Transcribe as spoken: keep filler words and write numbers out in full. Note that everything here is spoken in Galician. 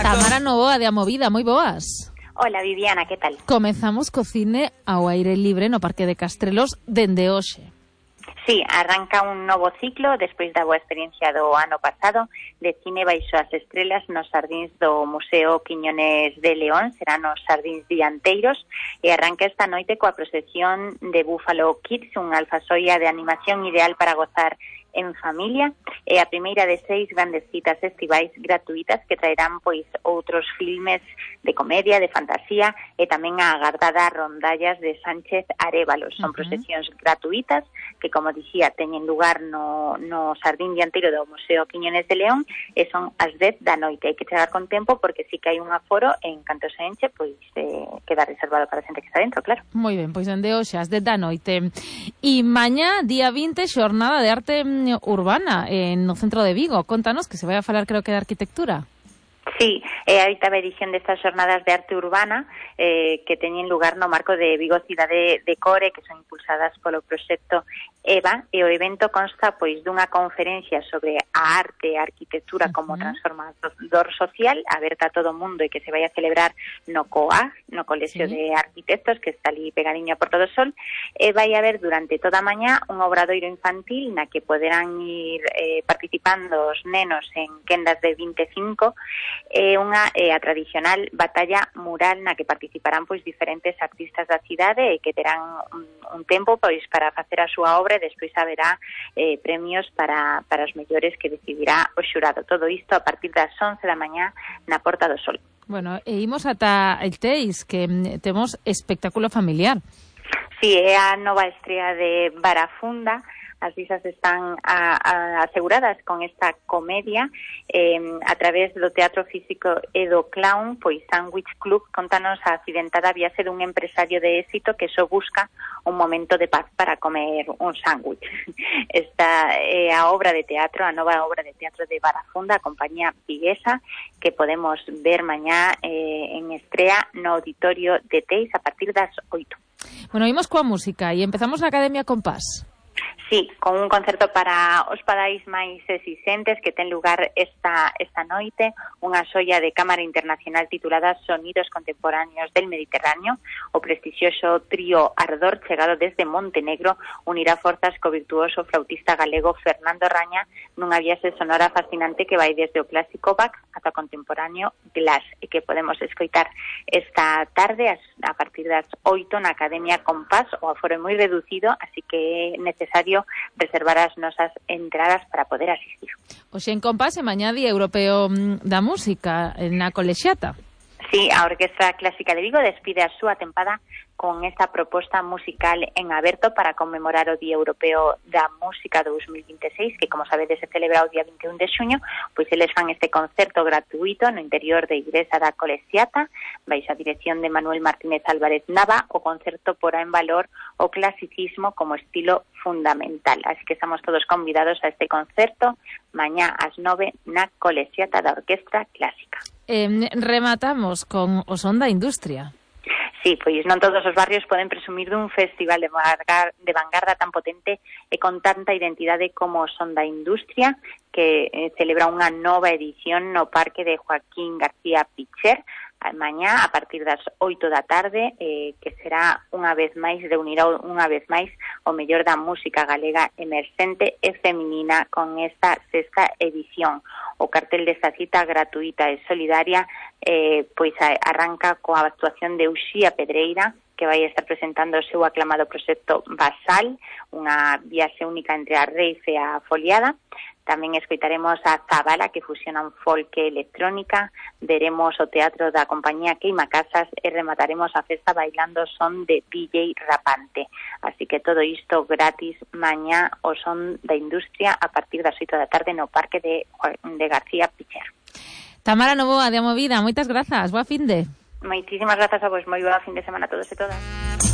Tamara Novoa de A Movida, moi boas. Hola Viviana, que tal? Comezamos co cine ao aire libre no Parque de Castrelos dende hoxe. Sí, arranca un novo ciclo despois da boa experiencia do ano pasado de cine baixo as estrelas nos xardíns do Museo Quiñones de León, serán os xardíns dianteiros, e arranca esta noite coa procesión de Buffalo Kids, unha alfasoia de animación ideal para gozar en familia, e a primeira de seis grandes citas estivais gratuitas que traerán pois outros filmes de comedia, de fantasía e tamén a agardada Rondallas de Sánchez Arévalos. Son uh-huh. procesións gratuitas que, como dicía, teñen lugar no, no Xardín Dianteiro do Museo Quiñones de León e son as dez da noite. Hai que chegar con tempo porque sí que hai un aforo e en canto se enche, pois eh, queda reservado para a xente que está dentro, claro. Moi ben, pois dende hoxe as dez da noite. E mañá, día vinte, xornada de arte urbana en no centro de Vigo. Contanos que se vai a falar, creo que, de arquitectura. Sí, é a oitava edición destas xornadas de arte urbana eh, que teñen lugar no marco de Vigo Cidade de Core, que son impulsadas polo proxecto EVA, e o evento consta pois dunha conferencia sobre a arte e a arquitectura como uh-huh. transformador social, aberta a todo o mundo e que se vai a celebrar no C O A, no Colexio sí. de Arquitectos, que está ali pegadiño a Porto do Sol, e vai haber durante toda a mañá un obradoiro infantil na que poderán ir eh, participando os nenos en quendas de vinte e cinco, e unha eh, a tradicional batalla mural na que participarán pois diferentes artistas da cidade e que terán un, un tempo pois para facer a súa obra e despois haberá eh, premios para, para os mellores que decidirá o xurado. Todo isto a partir das once da mañá na Porta do Sol. Bueno, e imos ata el Teis, que temos espectáculo familiar. Sí, é a nova estrea de Barafunda. As visas están a, a, aseguradas con esta comedia eh, a través do teatro físico e do clown, pois Sandwich Club contanos a accidentada viaxe dun empresario de éxito que só busca un momento de paz para comer un sándwich. Esta é a obra de teatro, a nova obra de teatro de Barafunda, a compañía viguesa, que podemos ver mañá eh, en estrea no Auditorio de Teis a partir das oito. Bueno, imos coa música e empezamos na Academia Compás. Sí, con un concerto para os padais máis exixentes que ten lugar esta esta noite, unha xoia de cámara internacional titulada Sonidos Contemporáneos del Mediterráneo. O prestixioso trío Ardor, chegado desde Montenegro, unirá forzas co virtuoso flautista galego Fernando Raña nunha viaxe sonora fascinante que vai desde o clásico Bach ata o contemporáneo Glass, e que podemos escoitar esta tarde a partir das oito na Academia Compás. O aforo é moi reducido, así que é necesario reservar as nosas entradas para poder asistir. Hoxe en Compás e mañá Día Europeo da Música na Colexiata. Sí, a Orquestra Clásica de Vigo despide a súa tempada con esta proposta musical en aberto para conmemorar o Día Europeo da Música dous mil vinte e seis, que, como sabedes, se celebra o día vinte e un de xuño, pois eles fan este concerto gratuito no interior da Igrexa da Colexiata, baixo a dirección de Manuel Martínez Álvarez Nava. O concerto porá en valor o clasicismo como estilo fundamental. Así que estamos todos convidados a este concerto mañá ás nove na Colexiata da Orquestra Clásica. Eh, rematamos con o Son da Industria. Sí, pois non todos os barrios poden presumir dun festival de, vangar, de vanguarda tan potente e con tanta identidade como o Son da Industria, que eh, celebra unha nova edición no Parque de Joaquín García Picher, mañá a partir das oito da tarde, eh, que será unha vez máis, reunirá unha vez máis o mellor da música galega emerxente e feminina con esta sexta edición. O cartel desta cita gratuita e solidaria eh, pois arranca coa actuación de Uxía Pedreira, que vai estar presentando o seu aclamado proxecto Basal, unha viaxe única entre a rave e a foliada. Tamén escoitaremos a Zabala, que fusionan folk e electrónica, veremos o teatro da compañía Queima Casas e remataremos a festa bailando son de D J Rapante. Así que todo isto gratis mañá o Son da Industria a partir das oito da tarde no Parque de, de García Picher. Tamara Novoa de A Movida, moitas grazas, boa finde. Moitísimas grazas a vos, moi boa fin de semana a todos e todas.